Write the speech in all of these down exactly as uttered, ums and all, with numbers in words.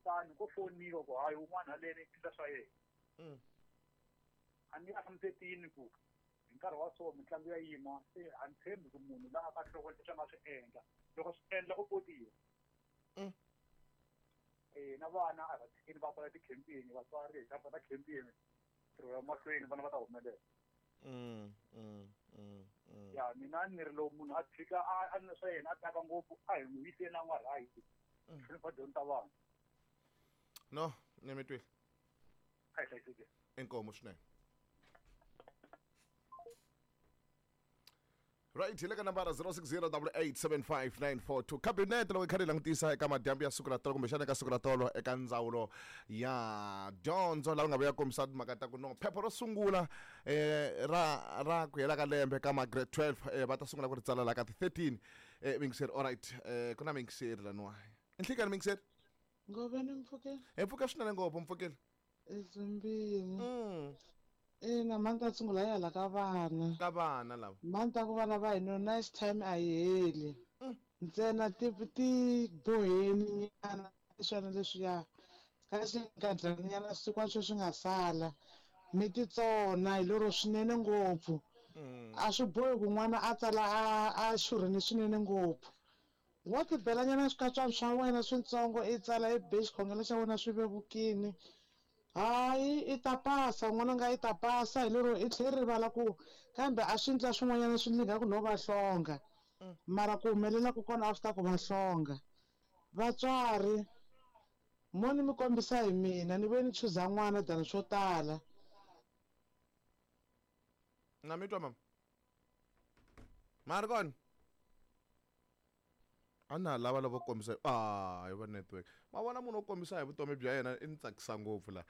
tani ko foniwa ku hayi un'wana haleni endla swa yena. Mm. A ni hlamusetini ku hi nkarhi wa so mitlangu ya yima se a ni tshembi ku munhu laha ka nhloko leswi a nga swi endla loko swi endla u potiwa. Mm. Eh na vana a va tshikini va kwala tikhempini vatswari hi ta khempini ntirho ya mahlweni vana va ta humelela. Mm, mm, mm, mm. Ya mina ni ri loko munhu a tshika a a na swa yena a taka ngopfu a hi n'wi yiseni a n'wa right. Hlonipha dyondzo ta vana. No, ni mi twile. A hi hlayisekile. Inkomu swinene. Right, hi le ka nambara zero six zero double eight seven five nine four two. Cabinet loko yi kha yi langutisa eka madyambu ya siku ra tolo kumbexana eka siku ra tolo eka ndzawulo ya dyondzo laha nga vuya kombisa timhaka ta ku no phepha ro sungula eh, ra ra ku hela ka lembe ka ma grade twelve eh, va ta sungula ku ri tsala laha ka ti thirteen eh, mingiseri. All right, eh, ku na mingiseri laniwa. Nhlikani mingiseri? Ngoveni mpfukeli. Hi pfuka swinene ngopfu mpfukeli. Ezimbini. Mm. Ina mani ta sungula ya hala ka vana. Ka vana lava. Mani ta ku vana va hina nice time a yi heli. Mm. Ntsena ti ti boheni nyana swona leswiya. Ka xinkadyana nyana siku sweswi nga sala. Mi titsona hi lero swinene ngopfu. Mm. A swi bohi ku n'wana a tsala a a xurhini swinene ngopfu. Wa tibela nyana swikatswana swa wena switsongo i tsala i be xikhongelo xa wena swi vevukini. Hayi i ta pasa n'wana nga i ta pasa hi lero i tlhela rivala ku kambe a swi endla swin'wanyana swi ndlinga ku no va hlonga. Mara ku humelela ku kona after ku va hlonga. Vatswari mo ni mi kombisa hi mina ni ve ni chuza n'wana than swo tala. Na mi twa mama? Mara kona? A na lava lavo kombisa ah hi va network. Ma vona munhu wo kombisa hi vutomi bya yena i ni tsakisa ngopfu la.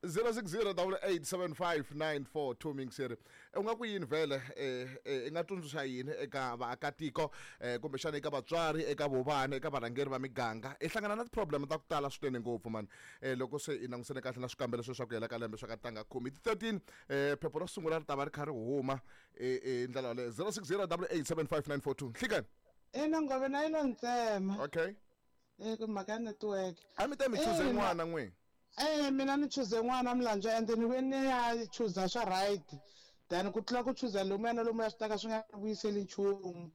zero six zero double eight seven five nine four two mingiseri. U nga ku yini vhele eh i nga tsundzuxa yini eka vaakatiko eh kumbexana eka vatswari eka vovana eka varhangeri va miganga i hlangana na ti-problem ta ku tala swinene ngopfu man eh loko se i langusene kahle na swikambelo sweswi swa ku hela ka lembe swa ka tanga khume ti thirteen eh phepha ro sungula ri ta va ri kha ri huma eh eh ndlela yaleyo zero six zero double eight seven five nine four two. Nhlikani. Ina ngove na yilo ntsema. Okay. Eh ku mhaka ya network. A mi ta mi chuze n'wana n'we. Eh mina ni chuze n'wana Mlandzu and ni ve ni ya chuza swa right. Then ku tlula ku chuza lomu na lomu ya swi taka swi nga vuyiseli nchumu.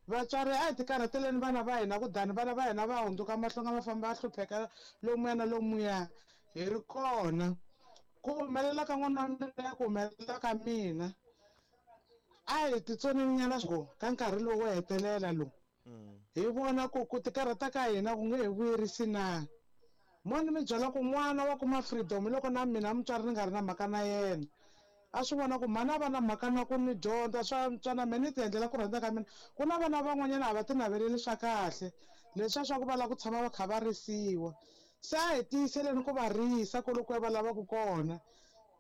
Vatswari a hi tikarhateleni vana va hina ku dani vana va hina va hundzuka mahlonga va famba va hlupheka lomuya na lomuya hi ri kona. Ku humelela ka n'wana wa mina ku humelela ka mina. A hi titsoneni nyana go ka nkarhi lowu wo hetelela lowu. Hi vona ku ku tikarhata ka hina ku nge he vuyerisi na. Mo ni mi byela ku n'wana wa kuma freedom loko na mina mutswari ni nga ri na mhaka na yena. A swi vona ku mhani a va na mhaka na ku ni dyondza swa ntswana mina ni ti endlela ku rhandza ka mina. Ku na vana van'wanyana a va ti naveleli swa kahle leswiya swa ku va lava ku tshama va kha va risiwa. Se a hi tiyiseleni ku va risa kwalokuya va lavaka kona.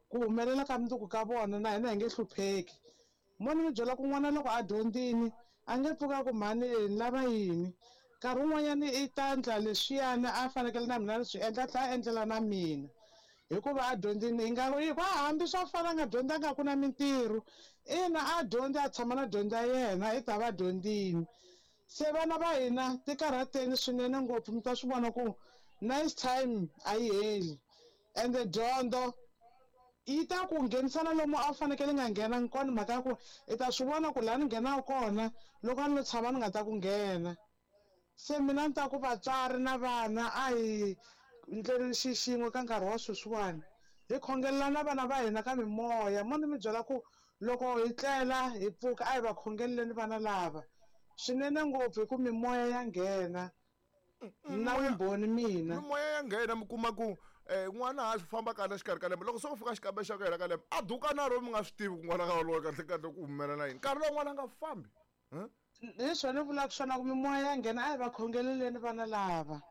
Ku humelela ka mundzuku ka vona na hina hi nge hlupheki. Mo ni mi byela ku n'wana loko a dyondzini a nge pfuka ku mhani ni lava yini. Nkarhi wun'wanyani i ta endla leswiyani a fanekele na mina ni swi endla a tlhela a endlela na mina. Hikuva a dyondzini hi nga va hambi swa fana a nga dyondzanga ku na mintirho. Ina a dyondzi a tshama na dyondzo ya yena i ta va dyondzini. Se vana va hina tikarhateni swinene ngopfu mi ta swi vona ku nice time a yi heli. Ende dyondzo yi ta ku nghenisana lomu a wu fanekele nga nghena kona mhaka ya ku i ta swi vona ku laha ni nghenaka kona loko a ni lo tshama ni nga ta ku nghena. Se mina ni ta ku vatswari na vana a hi ndleleni xi xin'we ka nkarhi wa sweswiwani. Hi khongelela na vana va hina ka mimoya. Mo ni mi byela ku loko hi tlela hi pfuka a hi va khongeleleni vana lava swinene ngopfu hi ku mimoya ya nghena. Na vumbhoni mina. Mimoya ya nghena mi kuma ku eh n'wana ha swi famba kahle xikarhi ka lembe loko se u fika xikambelo xa ku hela ka lembe a duka na ro mi nga swi tivi ku n'wana ka wolowo kahle kahle ku humelela yini nkarhi lowu n'wana a nga fambi. Hi swona ni vulaka swona ku mimoya ya nghena a hi va khongeleleni vana lava.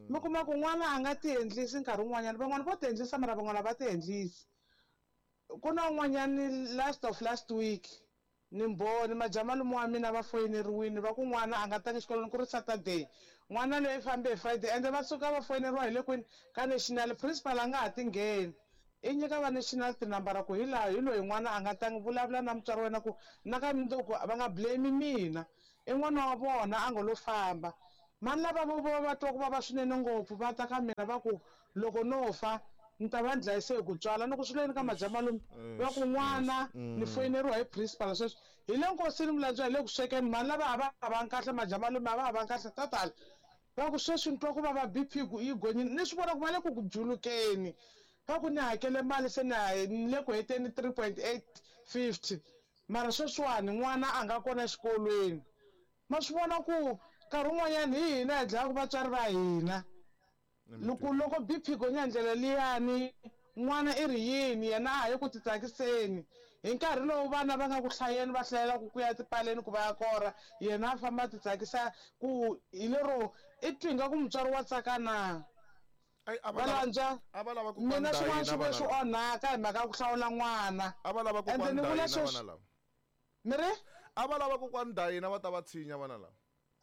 Mi kuma ku n'wana a nga ti endlisi nkarhi wun'wanyana van'wana vo ti endlisa mara van'wana va ti endlisi. Ku na un'wanyani last of last week ni mbhoni majamalume wa mina va foyineriwile va ku n'wana a nga tangi xikolweni ku ri Saturday. N'wana loyi fambe hi Friday ende va suka va foyineriwa hi le kwini ka national principal a nga ha ti ngheni. I nyika va national tinambara ku hi laha hi loyi n'wana a nga tangi vulavula na mutswari wa wena ku na ka mundzuku va nga blame mina. I n'wana wa vona a ngo lo famba. Mani lava vo va twa ku vava swinene ngopfu va ta ka mina va ku loko no fa ni ta va ndlayise hi ku tswala ni ku swi leni ka majamalume va ku n'wana ni foyineriwa hi principal sweswi hi le nkosini Mulandzwa hi le ku swekeni mani lava a va ha vangi kahle majamalume a va ha vangi kahle tatala va ku sweswi ni twa ku vava B P ku yi gonyini ni swi vona ku va le ku ku julukeni va ku ni hakele mali se ni ni le ku heteni three point eight fifty mara sweswiwani n'wana a nga kona exikolweni ma swi vona ku nkarhi wun'wanyana hi hina hi dlayaka vatswari va hina loko loko B P gonya ndlela liyani n'wana i ri yini yena a ha yi ku titsakiseni hi nkarhi lowu vana va nga ku hlayeni va hlayelaka ku ya tipaleni ku va ya kora yena a famba a titsakisa ku hi lero i twi nga ku mutswari wa tsaka na Valandzwa mina swin'wana swi ve swi onhaka hi mhaka ya ku hlawula n'wana a va lava ende ni vula sweswi mi ri a va lava kokwani Dayina va ta va tshinya vana lava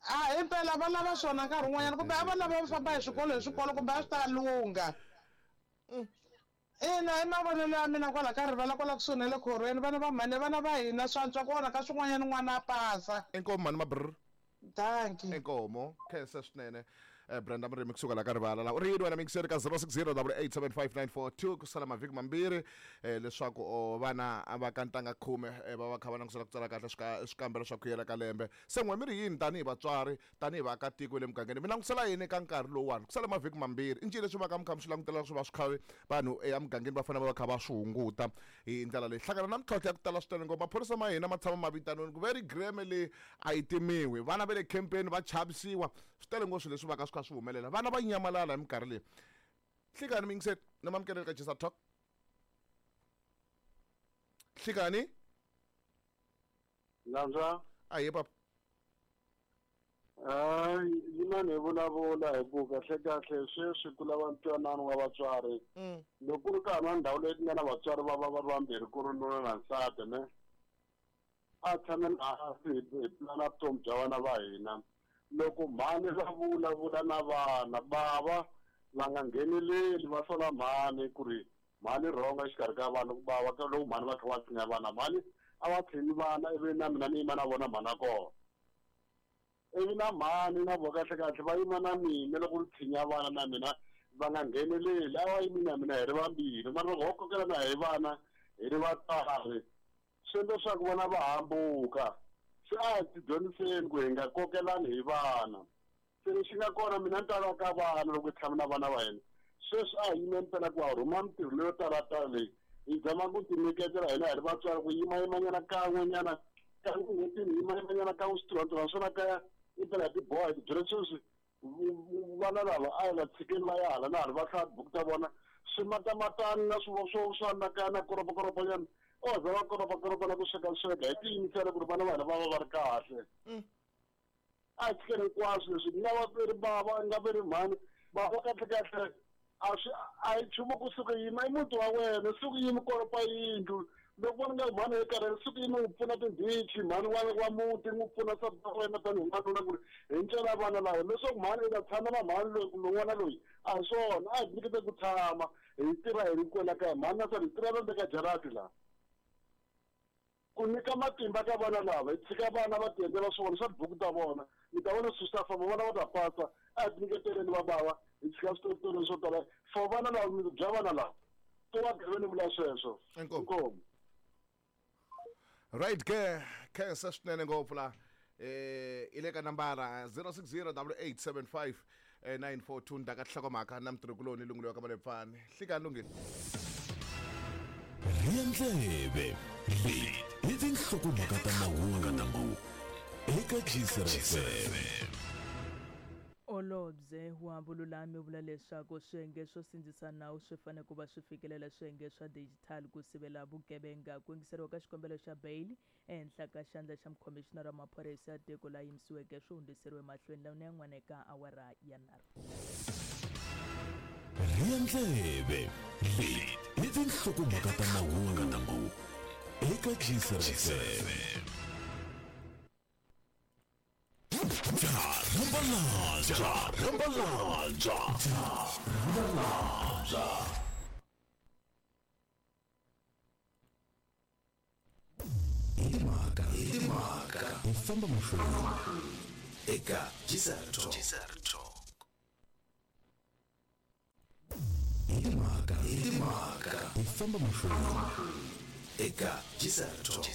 a himpela va lava swona nkarhi wun'wanyana kumbe a va lava va famba hi swikolo hi swikolo kumbe a swi ta lungha ina i mavonelo ya mina kwala ka rivala kwala kusuhi na le khorweni vana va mhani vana va hina swa antswa ku onha ka swin'wanyana n'wana a pasa inkomo mhani mabrr danki inkomo khensa swinene Brenda Murimi kusuka la ka rivala la u ri yini wena mingiseri ka zero six zero double eight seven five nine four two ku sala mavhiki mambirhi leswaku vana va ka ntanga khume va va kha va langutisela ku tsala kahle swikambelo swa ku yela ka lembe se n'we mi ri yini tanihi vatswari tanihi vaakatiko le mugangeni mi langutisela yini ka nkarhi lowuwani ku sala mavhiki mambirhi i ncini leswi va ka mi kha mi swi langutela swi va swi kha vanhu emugangeni va fanele va va kha va swi hunguta hi ndlela leyi hlangana na mintlhontlho ya ku tala swinene ngopfu maphorisa ma hina ma tshama ma vitaniwini ku ve ri greme leyi a yi timiwi vana va le khempeni va chavisiwa swi tele ngopfu swilo leswi va ka swi kha swi humelela vana va nyamalala hi minkarhi leyi hlikani mingiseti na mamukeleli ka Jisa Talk hlikani Landzwa ahe papa hayi yimani hi vulavula hi ku kahle kahle sweswi ku lava ntwanano wa vatswari loko ku ri ka na ndhawu leyi ku nga na vatswari va va va ri vambirhi ku ri nuna na nsati ne a tshameni hansi hi pulana vutomi bya vana va hina loko mhani va vulavula na vana bava va nga ngheneleli va sola mhani ku ri mhani rhonga exikarhi ka vana ku bava ka loko mhani va kha va tshinya vana mhani a va tshinyi vana ivi na mina ni yima na vona mhani a kona ivi na mhani na vo kahle kahle va yima na mina loko ni tshinya vana na mina va nga ngheneleli a va yimi na mina hi ri vambirhi mara loko ho kokelana hi vana hi ri vatswari swi endla leswaku vana va hambuka se a hi tidyondziseni ku hi nga kokelani hi vana se lexi nga kona mina ni ta ka vana loko hi tshama na vana va hina sweswi a hi yimeni phela ku ha rhuma mintirho leyo talatala leyi hi zama ku tinyiketela hina hi ri vatswari ku yimayimanyana kan'wenyana kan'we n'hwetini yimayimanyana kan'we switirhwantirhwana swona kaya i phela hi tiboha hi tibyela sweswi vana lava a hi va tshikeni va ya hala na hala va hlaya tibuku ta vona swimatamatani na swo swo swa na kaya na koropakoropanyana o za va koropakoropana na ku sweka sweka hi tiyimisela ku ri vana va hina va va va ri kahle a hi tshikeni hinkwaswo leswi nga va ri bava nga ve ri mhani bava kahle kahle a swi a hi nchumu kusuka yima i muti wa wena suku yimi koropa yindlu loko vona nga mhani hi karhele suku yimi n'wi pfuna tindhichi mhani wa wa muti n'wi pfuna nsati wa wena tanihi n'wanuna ku ri hi ncela vana lava leswaku mhani i ta tshama na mhani loyi kumbe n'wana loyi a hi swona a hi tinyikete ku tshama hi tirha hi ri kwela kaya mhani na nsati hi tirha ndzeni ka jarati laha ku nyika matimba ka vana lava hi tshika vana va tiendlela swona swa tibuku ta vona mi ta vona swilo swi ta famba vana va ta pasa a hi tinyiketeleni va bava hi tshika switoritori swo tala for vana lava bya vana lava to va gaveni vula sweswo inkomu right ke khensa swinene ngopfu la eh i le ka nambara zero six zero double eight seven five nine four two ndaka nhlokomhaka na mutirhikuloni lungulo ka Malepfani hlikani lunghile Riendleve leyi i tinhlokomhaka ta mahungu eka Gisa F M. Olobye wa vululami vula leswaku swiyenge swo sindzisa nawu swi fanele ku va swi fikelela swiyenge swa digital ku sivela vugevenga ku yingiseriwa ka xikombelo xa bail ehenhla ka xandla xa mukhomixinara wa maphorisa ya tiko la yimisiweke swi hundziseriwe mahlweni lawa yan'wana eka awara ya nharhu. Riendleve leyi i tinhlokomhaka ta mahungu eka Gisa F M. Rambalanza, Rambalanza, Rambalanza. Idimaka, Idimaka, ifamba mahlweni. Eka G S R Talk. Hi timhaka, hi timhaka, hi famba mahlweni eka G S R Talk.